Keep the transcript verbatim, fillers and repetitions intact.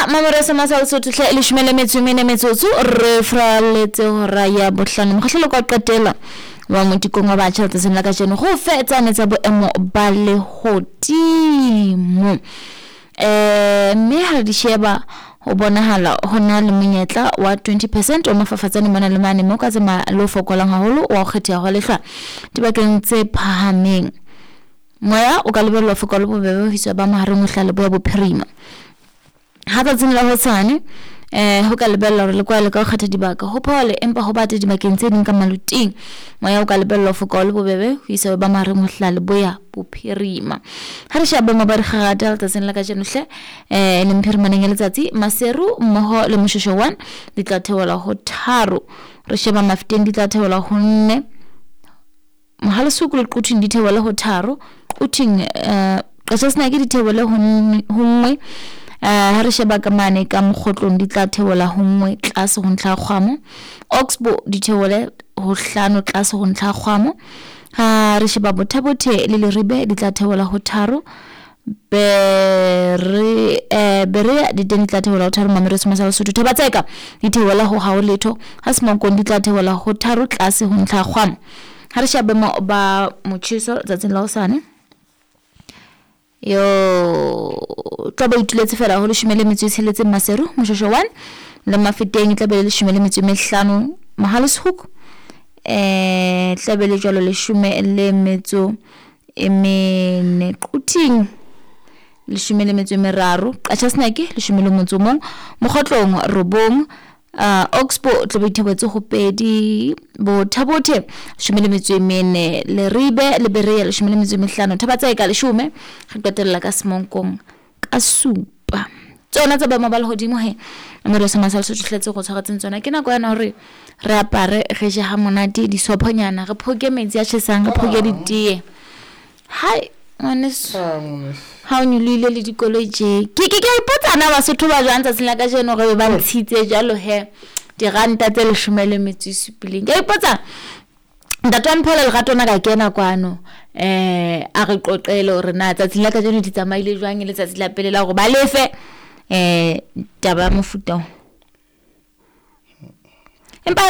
Ya mamoro sa sa Lesotho hle leshome le metso e mene metsotso re fraletse hora ya bohlano. Mokgahlelo kwa qetela wa motikong wa batjha letsatsing la kajeno go fetsane tsa boemo ba lehodimo. Eh mme ha re di sheba ho bonahala ho na le monyetla wa twenty percent wa mafafatsane mona le mane, mme o ka tsamaya le o fokolang haholo wa ho kgetheha hwa lehlwa dibakeng tse phahameng. Moya o ka lebellwa foka le bobebe ho iswa ba mahareng ho hlaha leboya bophirima. Ha tsatsing la hosane eh ho ka lebellwa hore le kwaele ka ho kgetha dibaka ho phole, empa ho bate dibakeng tse ding ka maluting. Moya o ka lebellwa foka le bobebe ho isa ba mahareng ho hlaha leboya bophirima. Ha re sheba boemo ba dikgangata letsatsing la kajeno hle eh leng phirimaneng ya letsatsi, Maseru mmoho le Moshoeshoe one di tla theohela ho tharo. Re sheba Mafeteng di tla theohela ho nne. Mohalesuku le Quthing di theohele ho tharo. Quthing eh Qachasenake di theohele ho nngwe. Ha re sheba ka mane ka Mokgotlong di tla theohela ho nngwe tlase ho ntlha ya kgwamo. Oxbow di theohele ho hlano tlase ho ntlha ya kgwamo. Ha re sheba Botha-Bothe le Leribe di tla theohela ho tharo. Bere eh Berea di teng di tla theohela ho tharo. Mamelodi sa Lesotho Thaba-Tseka di theohela ho hao letho. Ha Semonkong di tla theohela ho tharo tlase ho ntlha ya kgwamo. Ha re sheba boemo ba motjheso letsatsing la hosane, yo tla ba ituletse fela ho leshome le metso e tsheletseng Maseru, Moshoeshoe one le Mafeteng e tla be le leshome le metso e mehlano Mohale'shoek, eh tla be le jwalo leshome le metso e mene Quthing leshome le metso e meraro, Qachasenake leshome le motso o mong, Mokgotlong robong, uh, Oxbow tla be ithebetse ho pedi, Botha-Bothe leshome le metso e mene, Leribe le Berea leshome le metso e mehlano, Thaba-Tseka leshome, re qetella ka Semonkong ka supa. Tsona tsa boemo ba lehodimo he Mamelodi sa Lesotho hletse go tshwaretseng tsona. Ke nako yana hore re apare re je ha monate disophonyana, re phoke metsi a tjhesang, re phoke ditee. Hai ngwaneso, ha o nyolohile le dikoloi tje. Ke ke ke a ipotsa na Basotho ba jwang tsatsing la kajeno hore ba ntshitse jwalo he diranta tse leshome le metso e supileng. Ke a ipotsa ntate wa Mphela Lerato ona ka kena kwano eh a re qoqele hore na tsatsing la kajeno di tsamaile jwang, e letsatsi la pele la hore ba lefe eh taba ya mofuta o. Empa